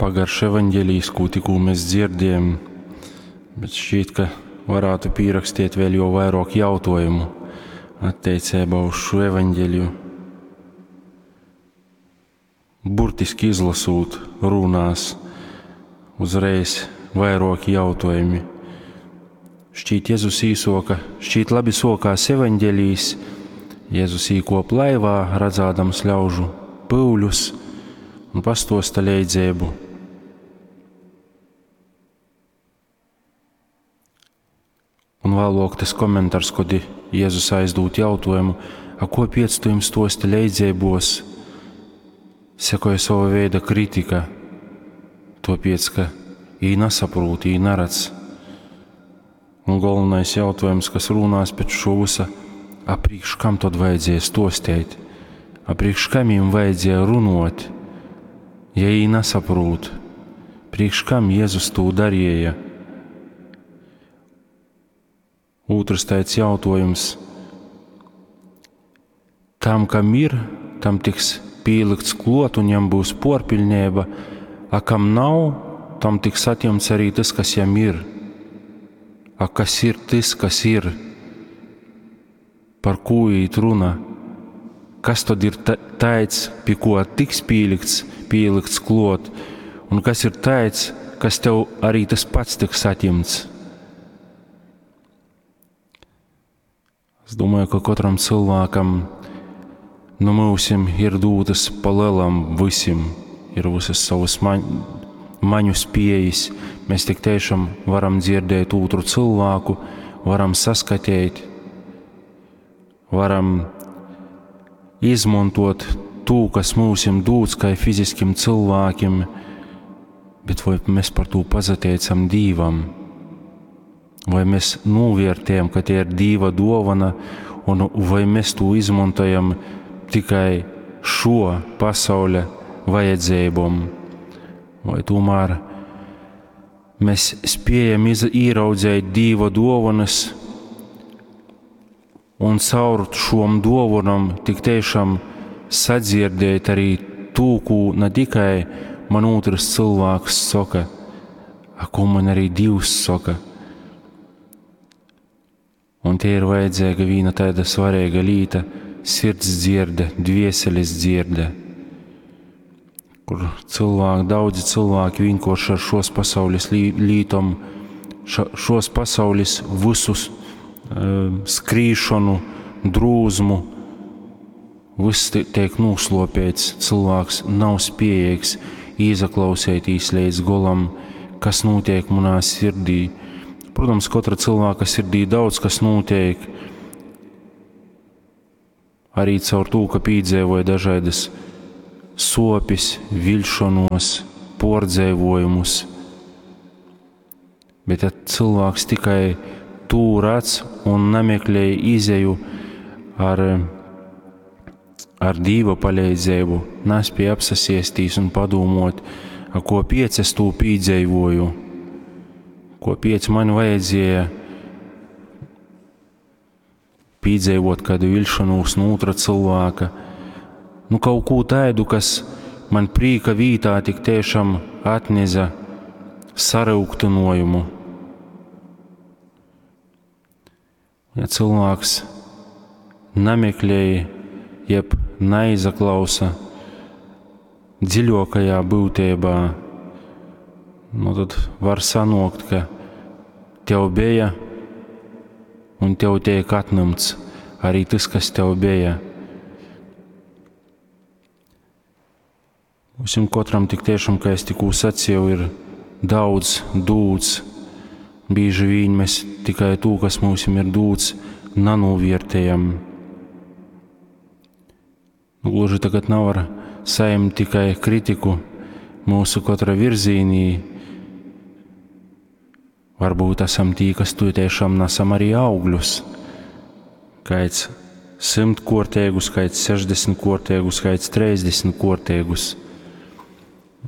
Pagarš evaņģelijs, kū tikū mēs dzirdējam, bet šķiet, ka varētu pīrakstīt vēl jo vairāk jautājumu attiecībā uz šo evaņģeliju. Burtiski izlasot runās uzreiz vairāki jautājumi. Šķiet, Jēzus īsoka, šķiet labi sokās evaņģelijs, Jēzus īkop laivā, redzādams ļaužu pyuļus un pastosta leidzēbu. Un vēlāk tas komentārs, kad Jēzus aizdūt jautājumu, a ko piec tu jums stosti leidzēbos, sekoja sava veida kritika, topiec, ka ī nesaprūt, ī neredz. Un galvenais jautājums, kas runās pēc šo visa, a priekš kam tad vajadzēja stostēt, a priekš kam jums vajadzēja runot, ja ī nesaprūt, priekš kam Jēzus to darīja. Otrs tāds jautājums. Tam, kam ir, tam tiks pielikts klot un jam būs porpiļnība, a kam nav, tam tiks atņemts arī tas, kas jam ir. A kas ir tas, kas ir? Par ko īt runa? Kas tad ir tāds, pie ko tiks pielikts, pielikts klot, un kas ir tāds, kas tev arī tas pats tiks atņemts? Es domāju, ka katram cilvēkam no mūsim ir dūtas pa lielam visim, ir visas savas maņu spējas. Mēs tik tiešām varam dzirdēt otru cilvēku, varam saskatīt, varam izmantot to, kas mūsim dūts, kā fiziskim cilvēkiem, bet vai mēs par to pazateicam Dīvam? Vai mēs novērtējam, ka tie ir Dīva dāvana, un vai mēs to izmantojam tikai šo pasaules vajadzībām, vai tomēr mēs spējam ieraudzīt Dīva dāvanas un caur šom dāvanām tik tiešām sadzirdēt arī to, ko ne tikai man otrs cilvēks saka, a ko man arī Dievs saka. Un te ir vajadzīga viena tāda svarīga lieta - sirds dzirde, dvieseles dzirde, kur cilvēki, daudzi cilvēki vienkārši ar šos pasaules lītom, šos pasaules visus skrīšanu, drūzmu, viss tiek noslopēts, cilvēks nav spējīgs izaklausētīs līdz golam, kas notiek manā sirdī. Protams, katra cilvēka sirdī daudz kas notiek, arī caur to, ka piedzīvoja dažādas sopis, vilšanos, pordzēvojumus. Bet ja cilvēks tikai tū redz un nemeklē izeju ar Dīva palīdzību, nespēja apsasiestīs un padomot, a ko piec es tū pīdzēvoju, ko piec man vajadzēja pīdzēvot kādu vilšanos no otra cilvēka, nu kaut ko tādu, kas man prīka vītā tik tiešām atneza sarūktinojumu. Ja cilvēks nemeklēja, jeb neizaklausa dziļākajā būtībā, nu tad var sanokt, ka tev bija un tev tiek atņemts arī tas, kas tev bija. Mums katram tik tiešām, kā es tikko sacīju, ir daudz dūts. Bieži vien mēs tikai to, kas mums ir dūts, nenovērtējam. Nu, gluži tagad nav ar saņemt tikai kritiku mūsu katra virzīnī. Varbūt esam tī, kas tu tiešām nesam arī augļus. Kāds 100 kortēgus, kāds 60 kortēgus, kāds 30 kortēgus.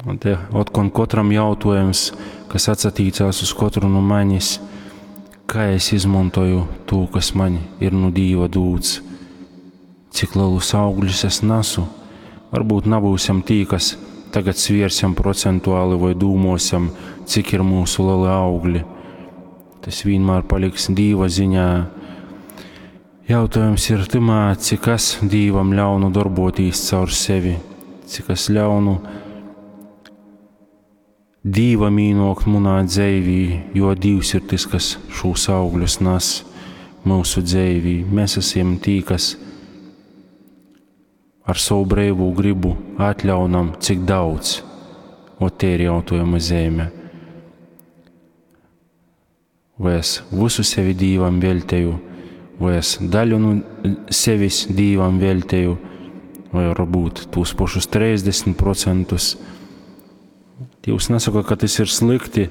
Un te otkon katram jautājums, kas atsatīcās uz katru no manis, kā es izmantoju to, kas man ir no Dīva dūts, cik lielus augļus es nesu. Varbūt nebūsim tī, kas tagad sviersim procentuali voi dūmuosim, cik ir myusu leli augli. Tas vienmēr paliks Dīva ziņā. Jautājums ir tymā, cik es Dīvam ļaunu darbotīs caur sevi, cik es ļaunu Dīvam īnōkt munā dzeivī, jo Dīvs ir tys, kas šūs augļus nas myusu dzeivī. Mēs esam tī, kas ar savu breivū gribu atļaunam, cik daudz. Ot, te ir jautājuma zīme. Vai es visu sevi Dīvam velteju, vai es daļu no sevis Dīvam velteju, vai varbūt tos pašus 30%. Dievs nesaka, ka tas ir slikti.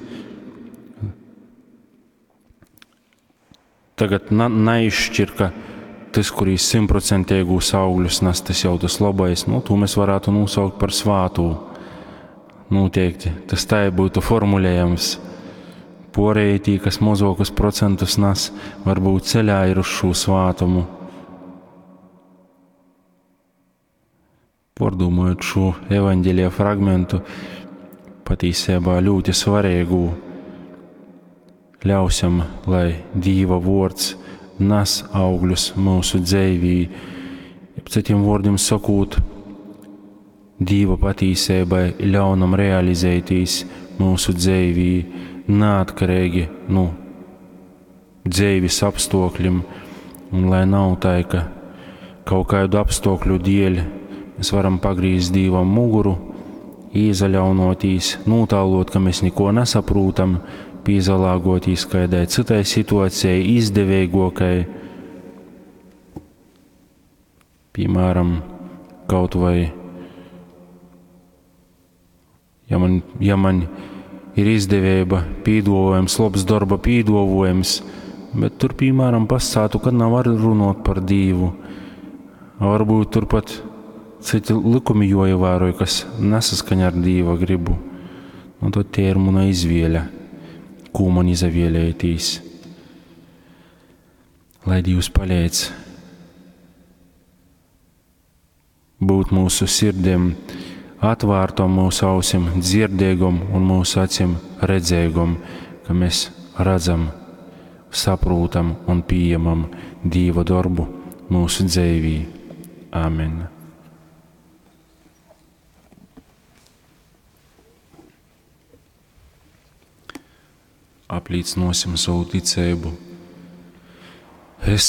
Tagad naizšķir, ka tas, kurīs simtprocentīgos augļus nes, tas jau tas labais, nu, to mēs varētu nosaukt par svātū. Noteikti tas tā būtu formulējams. Porēji tī, kas mazākus procentus nes, varbūt ceļā ir uz šo svātumu. Pārdomājot šo evaņģēlija fragmentu, patīsībā ļoti svarīgu, ļausim, lai Dīva vārds nes augļus mūsu dzīvī. Jeb citiem vārdiem sakot, Dīva patīsībai ļaunam realizēties mūsu dzīvī, neatkarīgi no dzīves apstākļiem, un lai nav tā, ka kaut kādu apstākļu dēļ mēs varam pagrīzt Dīvam muguru, īzaļaunotīs, notālot, ka mēs neko nesaprūtam, pīzalāgotīs kādai citai situācijai, izdevīgākai. Piemēram, kaut vai, ja man ir izdevība, pīdovojums, labs darba pīdovojums, bet tur, piemēram, pasātu, ka nav var runāt par Dīvu. Varbūt turpat citi likumi joievēroja, kas nesaskaņa ar Dīva gribu. Nu, tad tie ir mana izvēle, ko man izavēlētīs. Lai Dievs palīdz būt mūsu sirdiem atvērtom, mūsu ausim dzirdīgom un mūsu acīm redzīgom, ka mēs redzam, saprotam un pieņemam Dieva darbu mūsu dzīvī. Āmen. Apliecināsim savu ticību. Es